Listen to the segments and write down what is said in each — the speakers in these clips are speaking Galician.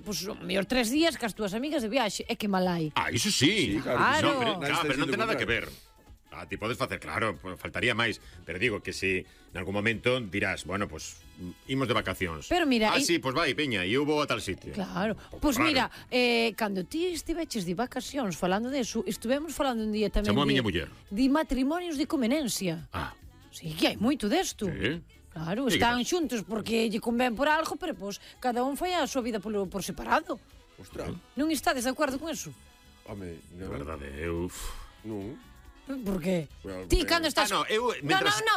Pois o mellor 3 días cas túas amigas de viaxe. É que mal hai. Iso sí. Claro. Pero non ten nada que ver. Ti podes facer, claro, faltaría máis. Pero digo que se en algún momento dirás, bueno, pues imos de vacacións. Pero mira, sí, pues vai, peña, e eu vou a tal sitio. Claro. Pois mira, cando ti estiveches de vacacións falando deso, estuvemos falando un día tamén Chamou a miña muller. De matrimonios de conveniencia. Sí, que hai moito desto. Sí. Claro, están xuntos porque lle convén por algo, pero pois cada un fai a súa vida por separado. Ostras. Non estades de acordo con eso? Home, De verdade, eu... Non. Por qué? Well, Ti cando estás... no,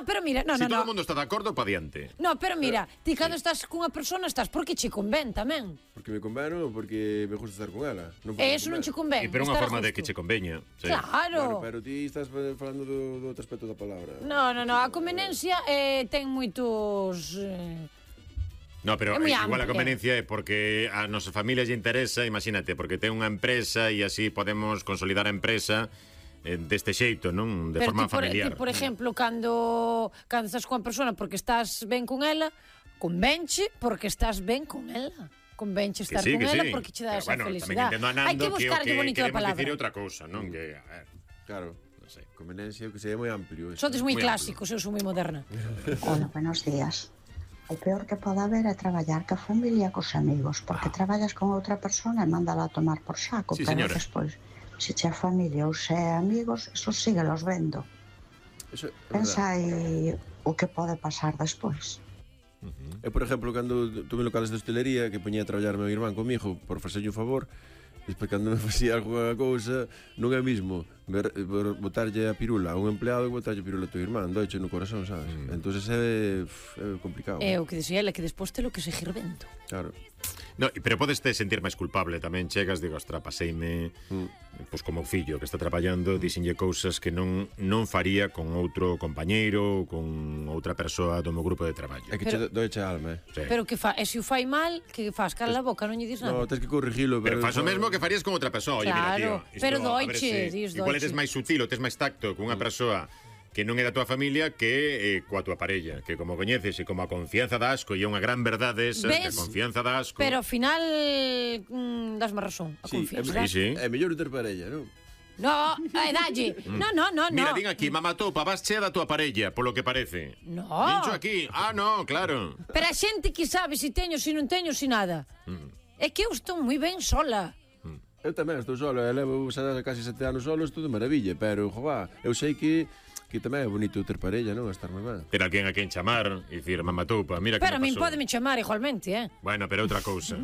pero mira, Si todo o mundo está de acordo, pa diante. No, pero mira, ti cando estás cunha persona estás porque che convén tamén. Porque me convén ou porque me gusta estar con ela. Eso non che convén. Pero unha forma de que che conveña. Claro. Pero ti estás falando do outro aspecto da palabra. No, a conveniencia ten moitos... No, pero igual a amplia. conveniencia é porque a nosa familia lle interesa, imagínate, porque ten unha empresa e así podemos consolidar a empresa deste xeito, non? De forma familiar. Por exemplo, cando estás con a persona porque estás ben con ela, convenche porque estás ben con ela. Convenche estar con ela porque che dá esa felicidade. Hai que buscarlle bonito a palabra. Queremos dicir outra cousa, non? Que, a ver, claro, non sei, conveniencia que sería moi amplio. Sodes moi clásicos, eu sou moi moderna. Hola, buenos días. O peor que pode haber é traballar ca familia cos amigos, porque traballas con outra persona e mándala a tomar por saco, Sí, pero señora. despois, se che é familia ou se é amigos, eso síguelos vendo. Eso, Pensa aí o que pode pasar despois. Eu, por exemplo, cando tuve locales de hostelería que poñía a traballar meu irmán comigo por facerlle un favor, despois cando me facía alguna cousa, non é mismo botarlle a pirula a un empleado e botarlle a pirula a teu irmán, doiche no corazón, sabes? Entonces é complicado. É o que dixía ela, que despois te lo que seguir vendo. Claro. No, pero podes te sentir máis culpable tamén. Chegas, digo, ostra, paseime pois como o fillo que está traballando, dixenlle cousas que non faría con outro compañeiro ou con outra persoa do meu grupo de traballo. É que che doeche a alma, Sí. Pero que fa, e se o fai mal, que fas? Cala a boca, non lle dis nada. No, tens que corrigilo. Pero faz o mesmo que farías con outra persoa. Oye, Claro, mira, tío, pero a ver doiche, dis igual doiche. eres máis sutil ou tes máis tacto con unha persoa que non é da tua familia que coa tua parella, que como coñeces e como a confianza da asco, e é unha gran verdade esa, que a confianza da asco. Pero ao final dasme razón, a confianza. Sí. É mellor ter parella, non? No, dalle. No. Mira, din aquí, mamatopa, vas chea da tua parella, polo que parece. No. Dincho aquí, no, claro. Pero a xente que sabe se teño, se non teño, se nada. É que eu estou moi ben sola. Eu tamén estou solo, eu levo casi 7 anos solo, estou de maravilla, pero, jová, eu sei que tamén é bonito ter parella, non? Estar moi ben. Ter alguén a quen chamar e dicir, mamatopa, mira que Pero a me min pasou. pode me chamar igualmente, Bueno, pero outra cousa.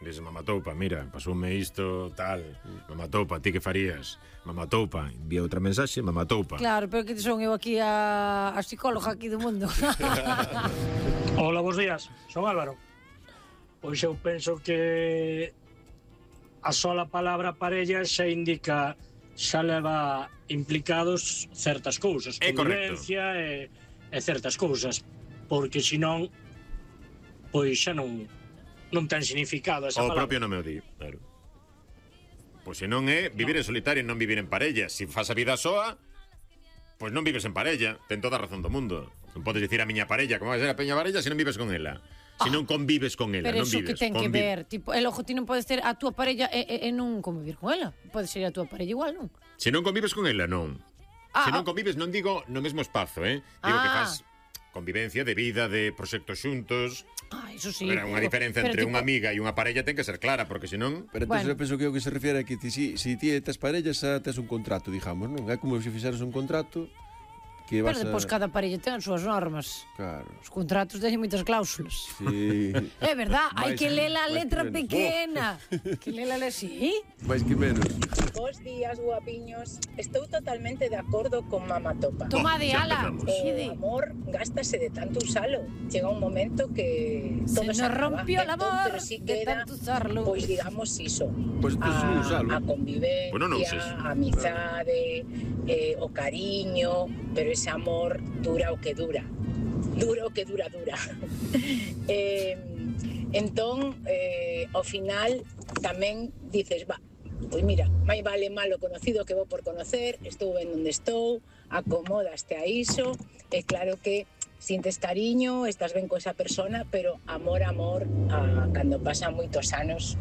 Dice, mamatopa, mira, pasoume isto, tal. Mamatopa, ti que farías? Mamatopa, envía outra mensaxe, mamatopa. Claro, pero que son eu aquí a psicóloga aquí do mundo. Hola, bons días, son Álvaro. Pois eu penso que a sola palabra parella xa indica, xa leva implicados certas cousas, convivencia e certas cousas, porque senón pois xa non ten significado esa palabra. O propio nome o di, claro. Pois se non é vivir en solitario e non vivir en parella. Se fas a vida soa, pois non vives en parella. Ten toda a razón do mundo. Non podes dicir a miña parella como vai ser a peña parella se non vives con ela. Se non convives con ela, Pero non eso vives. que ten que ver, tipo, el ojo ti non podes ter a túa parella e non convivir con ela. Pode ser a túa parella igual, non? Se non convives con ela, non. Se non convives, non digo no mesmo espazo, Digo que faz convivencia de vida, de proxectos xuntos. Eso sí. Pero unha diferencia entre unha amiga e unha parella ten que ser clara, porque senón... Pero entón, eu penso que o que se refiere é que si ti tes parella, xa tes un contrato, digamos, non? É como se fixeras un contrato que vas Pero depois cada parella ten as súas normas. Claro. Os contratos teñen moitas cláusulas. Sí. É verdad, hai que ler a máis letra que menos. pequena. Que lela así. Mais que menos. Bos días, guapiños. Estou totalmente de acordo con Mamatopa. Toma de ala. O amor gástase de tanto usalo. Chega un momento que Se todo nos se acaba. rompió el amor Pero si de queda, tanto usarlo. pois digamos iso. Pois entonces non usalo. A convivencia, Bueno, non uses. a amizade, o cariño, pero ese amor dura o que dura. Dura o que dura. Entón, ao final tamén dices, pois mira, máis vale malo conocido que bo por conocer, estou ben onde estou, acomodaste a iso, é claro que sintes cariño, estás ben con esa persona, pero amor, cando pasan moitos anos,